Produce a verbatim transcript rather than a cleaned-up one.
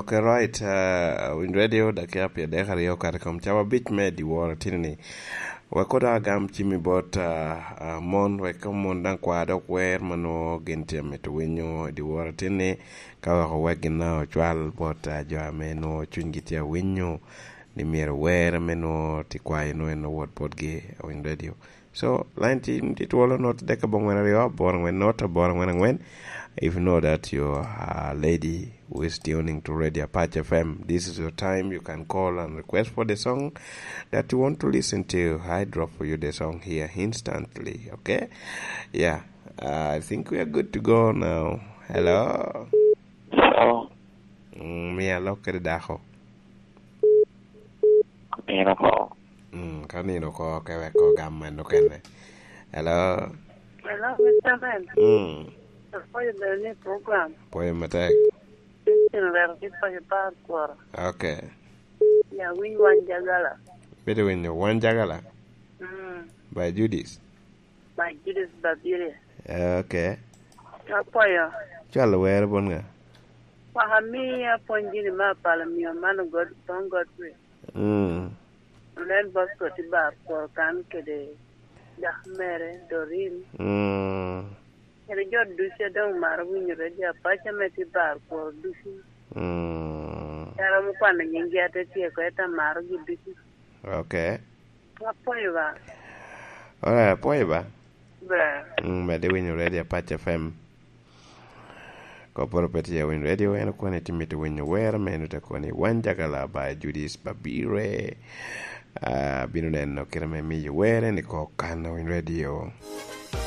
Okay, right. Uh, Wind Radio, dakika pyeradek aryo okato i kom cawa abic me dyewor ateni ni. Wek odok agam cimmi bot, uh, uh, mon, wek mon daŋ kwa dok wer ma nwoŋo gin tye amito winyo i dyewor ateni ni, ka wek owek gin daŋ ocwal bot, uh, jo ame nwoŋo cunygi tye awinyo ni myero wer ame nwoŋo tye kwayo nwoŋo en owot botgi i Wind Radio. So, line tin tye twolo not dek abongwen aryo, abongwen not, abongwen angwen. If you know that your, uh, lady who is tuning to Radio Apache F M, this is your time. You can call and request for the song that you want to listen to. I drop for you the song here instantly, okay? Yeah. Uh, I think we are good to go now. Hello? Hello? Mm, mi alok kede dako. Nino ko. Mm, ka nino ko, ke wek ko gam en okene. Hello? Hello, Mister Ben. Mm. Apwoyo bene ni program. Pwoyo matek. Christian Rero ki Pwoyo Par Kworo. Okay. Ya, winy Wan Jagala. Bedo winyo Wan Jagala? Mm. By Judith. By Judith Babirye. Okay. Apwoyo. Cwalo wer bot nga? Waka mi apwony gini me apalo mio man God, Tong Godfrey. Mm. Nen Bosco tye bar kwor kan kede dako mere, Doreen. Mm. Kede jo ducu a doŋ maro winyo Radio Apache ame tye bar kwor ducu. Mm. Ka romo kwano nyinggi ate tyeko, ento amarogi ducu. Okay. Apwoyo ba. Alright, apwoyo ba. Ba. Mm, medde winyo Radio Apache F M. Kopporo pe tye winyo radio, en okwane tye mito winyo wer me eno te koni Wan Jagala by Judith Babire. Ah, bino neno kite me miyo wer en i kor kan winyo radio.